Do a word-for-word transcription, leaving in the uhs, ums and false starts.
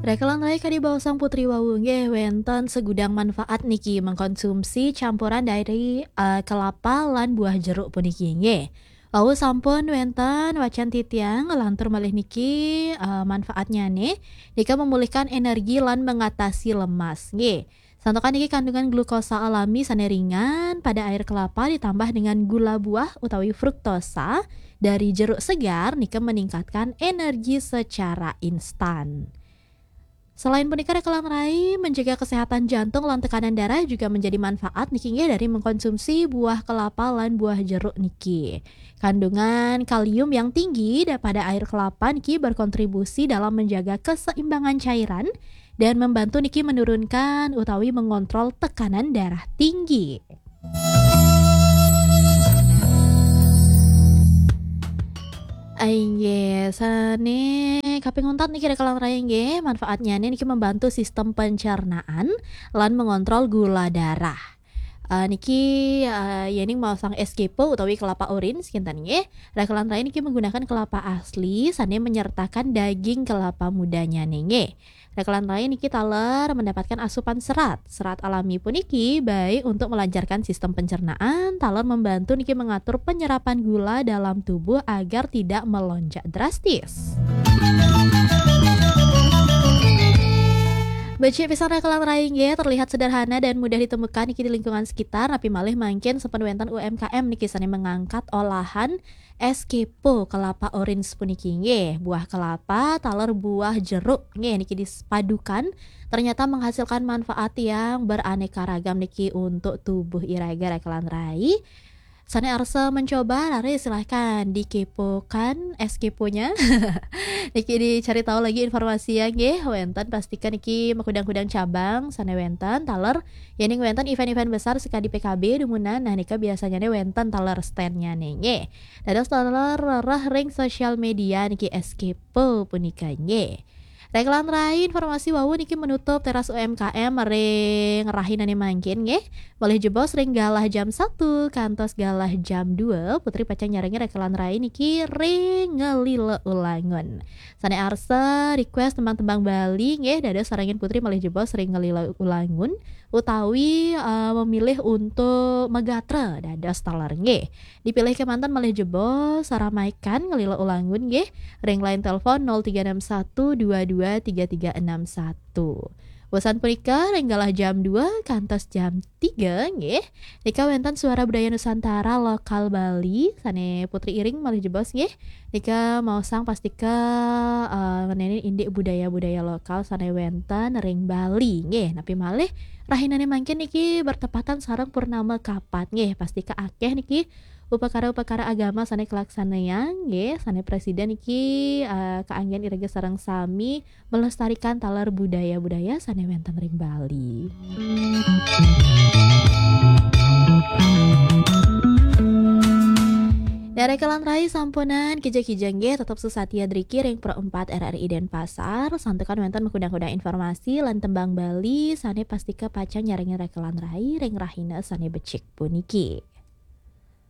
Rekelan rai kadi baosang Putri wau nggih, wénten segudang manfaat niki mengkonsumsi campuran dari, eh, kelapa lan buah jeruk puniki nggih. Wau sampun wénten wacan titiang, lantur malih niki, eh, manfaatnya nih, nika memulihkan energi lan mengatasi lemas nggih. Santukan niki kandungan glukosa alami sane ringan pada air kelapa ditambah dengan gula buah utawi fruktosa dari jeruk segar nika meningkatkan energi secara instan. Selain punika, rekelan rai menjaga kesehatan jantung lan tekanan darah juga menjadi manfaat niki nggih dari mengkonsumsi buah kelapa lan buah jeruk niki. Kandungan kalium yang tinggi da-, pada air kelapa niki berkontribusi dalam menjaga keseimbangan cairan dan membantu niki menurunkan utawi mengontrol tekanan darah tinggi. Inggih, sane kaping untat niki rekelan rai nggih, manfaatnya niki membantu sistem pencernaan lan mengontrol gula darah. Eh, niki, eh, yening maosang es kepo utawi kelapa orange kinten nggih. Rekelan rai niki menggunakan kelapa asli sane menyertakan daging kelapa mudanya nggih. Rekelan rai niki taler mendapatkan asupan serat. Serat alami puniki baik untuk melancarkan sistem pencernaan, taler membantu niki mengatur penyerapan gula dalam tubuh agar tidak melonjak drastis. Becik pisan rekelan rai nggih, terlihat sederhana dan mudah ditemukan niki di lingkungan sekitar, napi malih mangkin sampun wénten U M K M niki sane mengangkat olahan es kepo kelapa orange puniki nggih. Buah kelapa taler buah jeruk nggih niki dipadukan ternyata menghasilkan manfaat yang beraneka ragam niki untuk tubuh iraga rekelan rai. Sane arsa mencoba, lare silahkan dikepokan es keponya. Niki dicari tahu lagi informasi ya nggih. Wénten pastikan niki makudang-kudang cabang sane wénten taler yening wénten event-event besar sekadi P K B dumunan, nah nika biasanya ne wénten taler stand-nya ne nggih. Dados taler rereh ring sosial media niki es kepo punika nggih. Rekelan rai, informasi wau niki menutup teras U M K M ring rahinane mangkin nggih. Malih jebos ring galah jam satu kantos galah jam dua, Putri pacang nyarengi rekelan rai niki ring Ngelila Ulangun. Sane arsa request tembang-tembang Bali nggih, dados sarengin Putri malih jebos ring Ngelila Ulangun utawi, eh, memilih untuk megatra dados taler nggih. Dipilih kemanten malih jebos, saramaikan Ngelila Ulangun nggih, ring line telepon nol tiga enam satu dua dua tiga tiga enam satu. Wesan punika ring galah jam dua kantos jam tiga nggih. Nika wénten Suara Budaya Nusantara lokal Bali sane Putri iring malih jebos nggih. Nika maosang pastika, eh, ngenenin indik budaya-budaya lokal sane wénten ring Bali nggih. Napi malih rahinane mangkin niki bertepatan sareng purnama kapat nggih. Pastika akeh niki upakara-upakara agama sane kalaksanayang nggih, sane presida niki, eh, kaanggen iraga sareng sami melestarikan taler budaya-budaya sane wénten ring Bali. Nah, rekelan rai sampunang kija-kija nggih, tetep sesatia driki ring Pro empat R R I Denpasar, santukan wénten makudang-kudang informasi lan tembang Bali sane pastika pacang nyarengin rekelan rai ring rahina sane becik puniki.